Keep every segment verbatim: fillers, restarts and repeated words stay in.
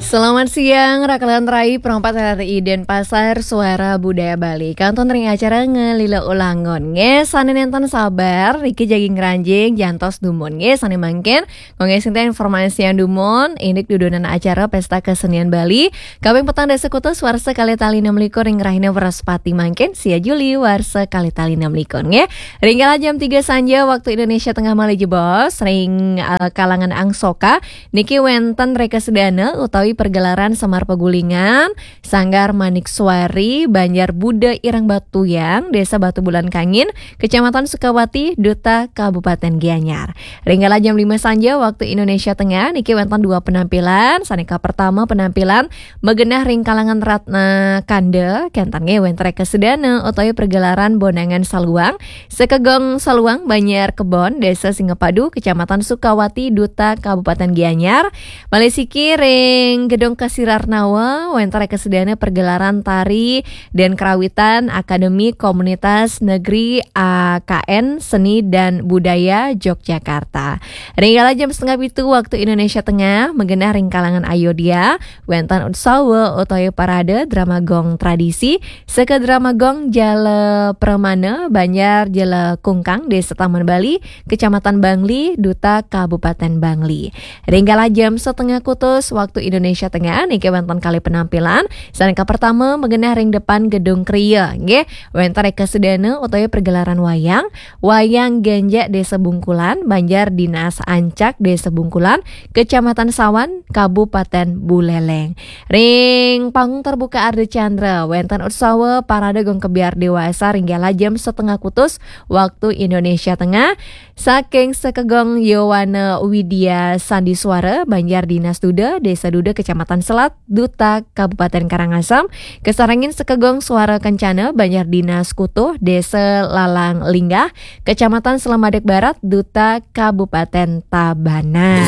Selamat siang, rakalan rai, perempat R R I Denpasar, Suara Budaya Bali. Kantun ring acara Ngelila Ulangun. Nggih, sané nénten sabar, niki jagi ngranjing jantos dumun. Nggih, sané mangkin, nggih, sinten informasian dumun, indik dudonan acara Pesta Kesenian Bali, kaping petang dasa kutus warsa kalih tali enam likur ring rahina Wrespati mangkin, sia Juli warsa kalih tali enam likur. Nggih, ring kala jam tiga sanja waktu Indonesia Tengah malih jebos, ring, eh, kalangan Angsoka, niki wénten reka sedana utawi pergelaran Semar Pegulingan, Sanggar Manik Suari, Banjar Buda Ireng Batuyang, Desa Batu Bulan Kangin, Kecamatan Sukawati, Duta, Kabupaten Gianyar. Ring kala jam lima sanja waktu Indonesia Tengah, niki wénten dua penampilan. Sané kapertama penampilan magenah ring kalangan Ratna Kanda, kénten nggih wénten reka sedana utawi pergelaran Bonangan Saluang, Sekegong Saluang, Banjar Kebon, Desa Singapadu, Kecamatan Sukawati, Duta, Kabupaten Gianyar. Malih siki ring Gedung Kasirarnawa, wénten reka sedana pergelaran tari dan kerawitan Akademi Komunitas Negeri A K N Seni dan Budaya Yogyakarta. Ring kala jam setengah pitu waktu Indonesia Tengah, magenah ring kalangan Ayodhya, wénten utsawa utawi parade drama gong tradisi, Seka Drama Gong Jala Pramana, Banjar Jala Kungkang, Desa Taman Bali, Kecamatan Bangli, Duta, Kabupaten Bangli. Ring kala jam setengah kutus waktu Indonesia Tengah, niki wénten kalih penampilan. Sané kapertama magenah ring depan Gedung Kria, nggih. Wénten reka sedana utawi pergelaran wayang, Wayang Genjek Desa Bungkulan, Banjar Dinas Ancak Desa Bungkulan, Kecamatan Sawan, Kabupaten Buleleng. Ring panggung terbuka Ardha Candra, wénten utsawa parade gong kebyar dewasa ring kala jam setengah kutus waktu Indonesia Tengah. Saking Sekegong Yowana Widya Sandiswara, Banjar Dinas Duda, Desa Duda, Kecamatan Selat, Duta, Kabupaten Karangasem, kasarengin Sekegong Suara Kencana, Banjar Dinas Kutuh, Desa Lalang Linggah, Kecamatan Selamadeg Barat, Duta, Kabupaten Tabanan.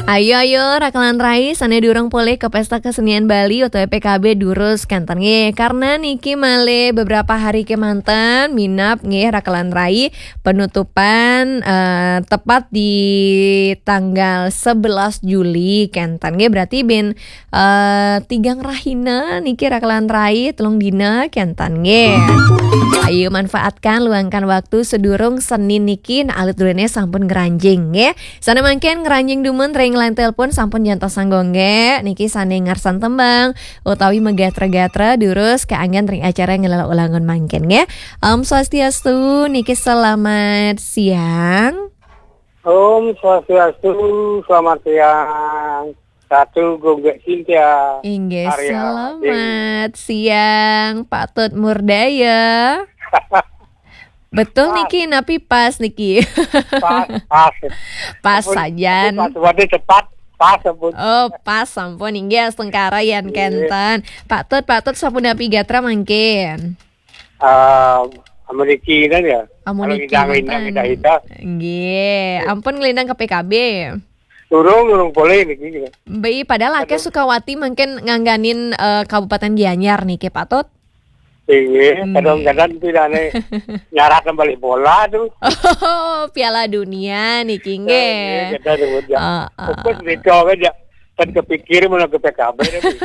Ayo, ayo, rakalan rai, sané durung polih ka Pesta Kesenian Bali utawi P K B durus kénten nggih. Karena niki malih beberapa hari kémanten, minab nggih rakalan rai, penutupan, eh, tepat di tanggal sebelas Juli kénten nggih. Berarti bin, eh, tigang rahina niki rakalan rai, telung dina kénten nggih. Ayo manfaatkan, luangkan waktu sedurung Senin niki, nah, alit duluné sampun ngranjing nggih. Sané mangkin ngranjing dumun ring line telepon sampun jantos sanggongge. Niki sané ngarsan tembang utawi magatra-gatra durus kaanggen ring acara Ngelala Ulangun mangkin nggih. Om Swastiastu, niki selamat siang. Om Swastiastu, selamat siang. Ratu Gung Cynthia. Inggih, Arya selamat siang, Pak Tut Murdaya. Betul pas. Niki, napi pas niki? Pas, pas. Pas ampun, sajan. Ampun, pas, waduh, cepat. Pas, ampun. Oh, pas, ampun. Inggih, astungkara yan. Inggih. Kenten. Pak Tut, Pak Tut, sampun napi gatra mangkin? Eh, amuniki kan ya. Amuniki. Kalau ngidang, ngidang, mantun. Ngidang, ngidang. Inggih. Inggih. Ampun nglintang ke P K B. Durung, durung polih niki. Mbe, padahal akeh padahal Sukawati mangkin ngangganin, eh, Kabupaten Gianyar niki, Pak Tut. Inggih, hmm. Kadang-kadang pidane nyarat balik bola tuh. Oh, Piala Dunia niki, nggih. Inggih, kita sebut ya. Heeh. Fokus di cowok aja. Kan kepikir mana ke P K B tapi.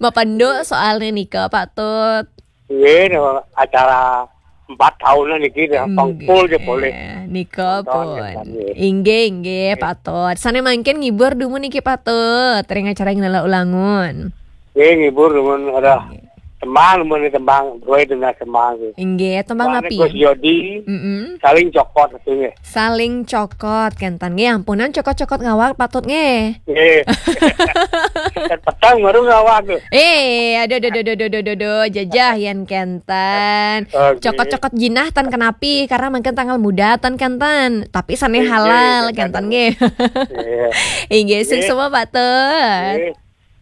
Mapenduk soalnya nika, Pak Tut. Nggih, no, acara empat tahunan niki, ya, nggih, pangkul je boleh. Nika nonton pun. Ya, nggih. Inggih, inggih, nggih. Pak Tut. Sane mangkin ngibur dumun niki, Pak Tut, ring acara Ngelala Ulangun. Nggih, ngibur dumun, ada nggih. Tembang, dumun tembang, dua itu nah tembang, nggih. Inggih, tembang napi? Gus Yodi, mm-mm. Saling cokot, itu, nggih. Saling cokot, kenten. Nggih, ampunan cokot-cokot ngawak, Pak Tut, nggih. Nggih. Kan petang baru ngawak tuh. Eh, aduh, aduh, aduh, jajah yan kenten. Oke. Cokot-cokot jinah tan kenapi, karena mungkin tanggal muda tan kenten. Tapi sane halal, kenten, nggih. Iya. Inggih, sing semua, Pak Tut. Nggih.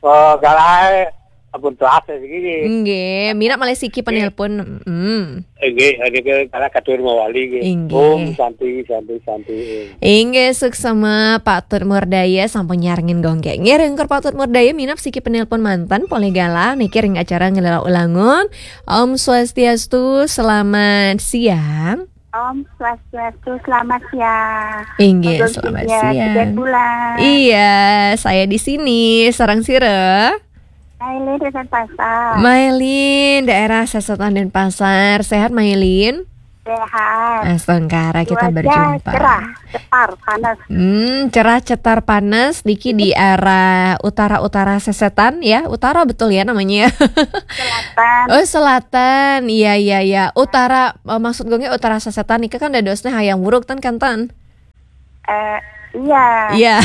Oh, galai, ampun telas ya, segini. Nggih, minat malih siki penelpon. Mm. Nggih, ada ke, karena katur mawali, nggih. Inggih. Om Santi, Santi, Santi. Inggih, suksema Pak Tut Murdaya sampun nyarengin gongge. Nggih, ringkur Pak Tut Murdaya minat siki penelpon manten, polih galah, niki ring acara Ngelala Ulangun. Om Swastiastu, selamat siang. Om Swastiastu, selamat siang. Inggih, Agung selamat Cynthia, siang. Tiga bulan. Iya, saya di sini. Sareng sira? Aileen di Denpasar. Mailin, daerah Sesetan Denpasar. Sehat, Mailin? Sehat. Astungkara, kita Cuaca berjumpa. Cerah, cetar, panas. Hmm, cerah, cetar, panas. Niki di arah utara-utara Sesetan, ya. Utara betul ya namanya, ya? Selatan. Oh, selatan. Iya, iya, iya. Utara, eh, maksud gue utara Sesetan niki kan dadosnya Hayam Wuruk, ten, kan, ten? Eh, iya. Iya.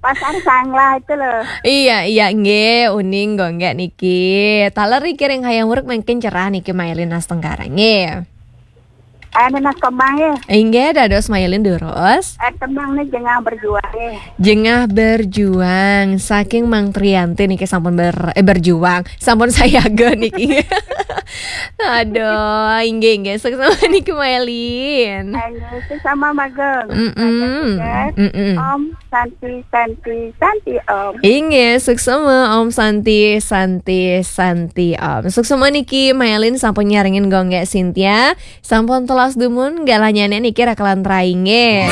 Pasar Sanglah itu loh. Iya, iya, nggih, uning gue niki. Taler niki ring Hayam Wuruk mungkin cerah niki, Mailin, astungkara, nggih. Anu, Mas, kembang ya. Inggih, dados Mailin durus. Eh, kembang nih, jengah berjuang ya. Jengah berjuang, saking Mang Trianti niki sampun ber-, eh, berjuang, sampun sayaga niki. Aduh, inggih, inggih. Suksma niki, Mailin. Ayo, suksma, Magung. Mm-mm. Magung, ya. Mm-mm. Om Santi, Santi, Santi, Om. Inggih, suksma, Om Santi, Santi, Santi, Om. Suksma niki, Mailin sampun nyarengin Gung Gek Cynthia. Sampun telas dumun, galahnyane niki rakalan rainge.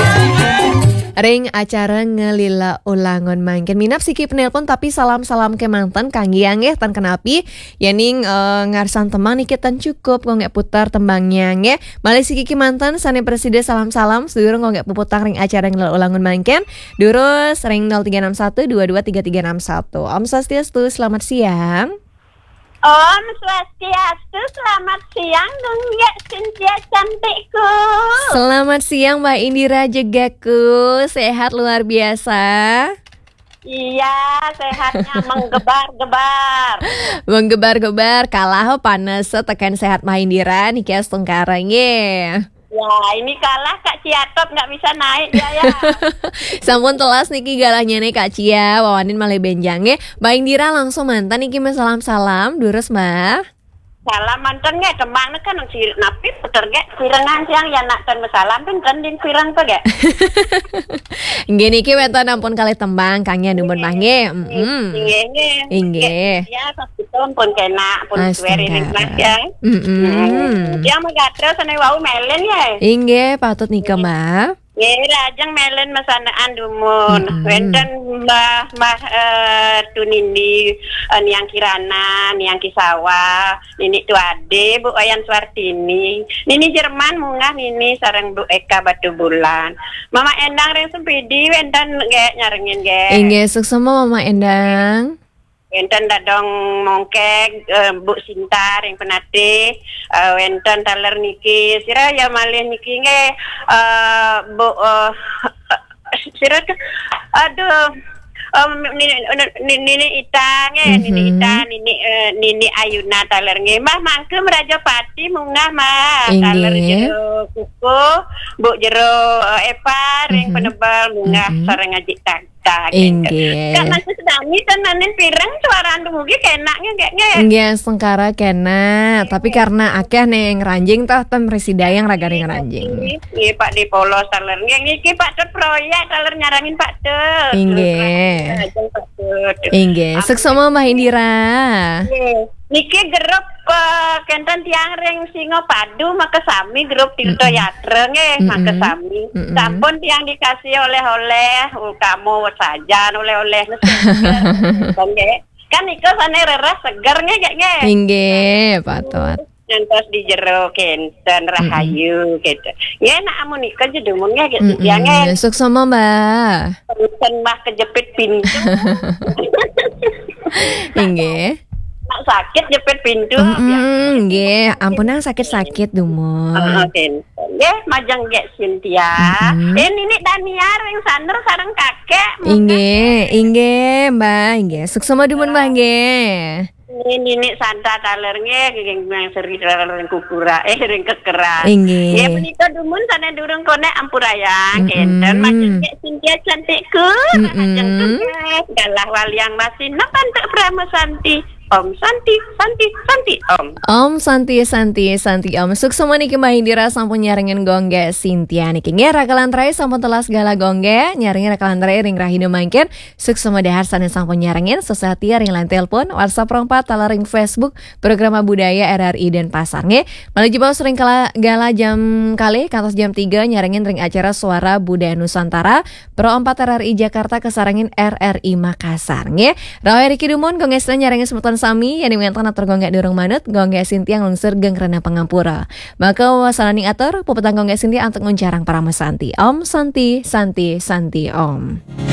Ring acara ngelila ulangun mangkin. Minab siki penelpon tapi salam-salam kemanten kangge nggih, ten kenapi. Yening, eh, ngarsan tembang niki ten cukup, Gung Gek putar tembangnya nggih. Malih siki kemanten sane presida salam-salam, sedurung Gung Gek puputang ring acara ngelila ulangun mangkin. Durus ring nol tiga enam satu dua dua tiga tiga enam satu. Om Swastiastu, selamat siang. Om Swastiastu, selamat siang, Gung Gek Cynthia cantikku. Selamat siang, Mbak Indira Jegaku. Sehat luar biasa? Iya, sehatnya menggebar-gebar. Menggebar-gebar, kalah panas tekan sehat Mbak Indira niki astungkara nggih. Ya, ini kalah Kak Ciatot, nggak bisa naik dia ya. Sampun telas niki galahnya nih, Kak Cia, wawanin malih benjang nggih. Mbak Indira langsung manten niki masalam-salam, durus, Mbak. Salam manten nggih, tembang niki kan si napi puter nggih, pirengan siang ya nak ten masalam ten ten din pireng pe nggih. Nggih niki wenten ampun kalih tembang kangge dumun Mbak nggih. Mm-mm. Nggih, nggih. Inggih. Ya, pas kita pun kena, pun suwe ring Mas ya. Mm-mm. Hmm. Yang megatro sane wau melen ya. Inggih, patut nika, Mbak. Nggih, lajeng melen masanaan dumun. Mm-mm. Wenten Mbah, Mbah, eh, Tunindi, eh, Niang Kirana, Niang Kisawa, Nini Tuade, Bu Wayan Suartini, Nini Jerman munggah Nini sareng Bu Eka Batubulan. Mama Endang ring Sempidi wenten nggih nyarengin nggih. Inggih, suksma Mama Endang. Wenten Dadong Mongkeg, eh, Bu Sinta ring Penatih, eh, wenten taler niki, sira ya malih niki nggih, eh, Bu, eh, sira ke-, aduh, em, Nini, Nini, Nini Ita nggih, Nini Ita, Nini, eh, Nini Ayuna taler nggih. Mbah Mangke Meraja Pati munggah, Mbah. Inggih. Taler jero kukuh, Bu jero, eh, Epa ring Penebel munggah sareng Aji Tag. Inggih. Kak Mas Dani ten nanin pireng suaran dumugi kenaknya nggih, nggih. Nggih, astungkara kena, tapi karena akeh ning ranjing toh ten mresida yang ragane ngranjing. Nggih, Pak di Polos taler. Nggih, niki Pak Tut proyek taler nyarangin Pak Tut. Inggih. Lajeng Pak Tut. Inggih, suksma Mbah Indira. Nggih. Niki grup, eh, kenten tiang ring Singapadu makasami grup Tirta Yatra nggih, makasami. Sampun tiang dikasih oleh-oleh, utama sajan oleh-oleh nggih. Kan nika sane rereh seger nggih, nggih. Inggih, patut. Ngantos di jero kenten rahayu gitu. Nggih, nak amun nika jedumun nggih, nggih. Suksma, Mbah. Ten Mbah kejepit pintu. Inggih. Nak sakit jepit pintu. Nggih, ampun nang sakit-sakit dumun. Heeh, kenten. Nggih, majeng Gek Cynthia. Eh, Nini Dania ring Saner sareng kakek. Inggih, inggih, Mbah, inggih. Suksma dumun, Mbah, nggih. Nini, Nini Santa taler nggih, nggih, nggih, seri taler ring Kukura, eh, ring Kekera. Inggih. Nggih, punika dumun sane durung konek ampurayang, kenten. Majeng Gek Cynthia cantikku, majeng tugas, galah waliang masih nepantuk Prama Santi. Om Santi, Santi, Santi Om. Om Santi, Santi, Santi Om. Suksma niki Mbah Indira sampun nyarengin Gung Gé Sintia niki. Nggih, rakalan rai sampun telas gala Gung Gé, nyarengin rakalan rai ring rahina mangkin. Suksma dahar sané sampun nyarengin, sesati ring line telepon, WhatsApp rong pat, taler ring Facebook, Programa Budaya R R I Denpasar nggih. Malih jebos ring kala gala jam kalih kantos jam tiga nyarengin ring acara Suara Budaya Nusantara, Pro empat R R I Jakarta kasarengin R R I Makassar nggih. Rawuh riki dumun, Gung Gé Sintia nyarengin semeton sami, yén wénten atur Gung Gé durung manut, Gung Gé Sintia nglungsur geng rena pangampura. Maka wasananing atur, puputang Gung Gé Sintia antuk nguncarang parama santi. Om Santi, Santi, Santi Om.